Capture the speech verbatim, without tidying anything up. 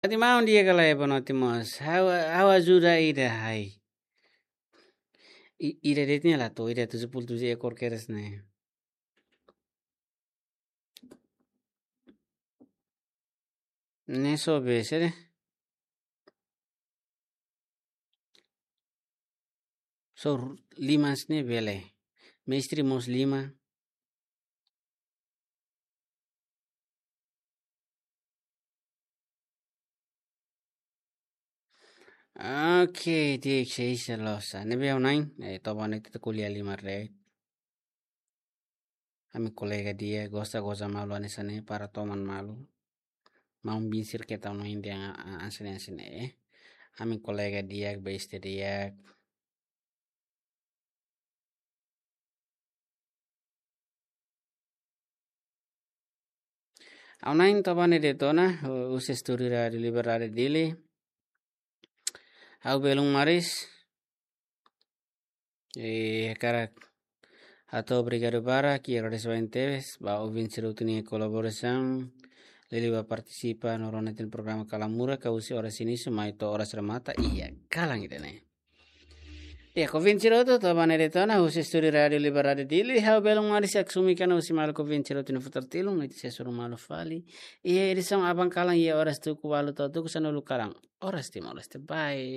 Ati maun dia kala eba no timos. Ha'u, ha'u ajuda ida hai. I, ida de'it ne'e la to'o, ida tujuh puluh tujuh ekor kedas ne'e. Ne'e só be sede. Só ru-, lima sini bele. Mestre mós lima. Oke, di'ak, seis losa. Ne'ebé ha'u-na'in, eh, toba ne'e ita ko'alia lima re. Ami kolega di'ak, gosta goza malu hanesan ne'e para toman malu. Maun Binsir keta no India a, a, hanesan ne'e, hanesan ne'e, eh. Ami kolega di'ak, beste di'ak. Ha'u-na'in toba ne'e de'it ona, hu-, husi estúdiu Rádiu Liberdade Dili. Ha'u belun Maris. Eh, hakarak hato'o obrigadu barak, i agradese barak tebes ba ouvinte sira hotu nia kolaborasaun, liuliu ba partisipa no rona iha programa Kalan Murak, husi oras inísiu mai to'o oras remata iha kalan ida-ne'e. Di'ak, ouvinte sira hotu, toba ne'e de'it ona, husi estúdiu Rádiu Liberdade Dili, ha'u belun Maris, asume kalan husi maluk ouvinte sira hotu nia futar tilun, no ita sei hasoru malu fali iha edisaun aban kalan iha oras tuku ualu to'o tuku sanulu kalan. Oras Timor-Leste, bye.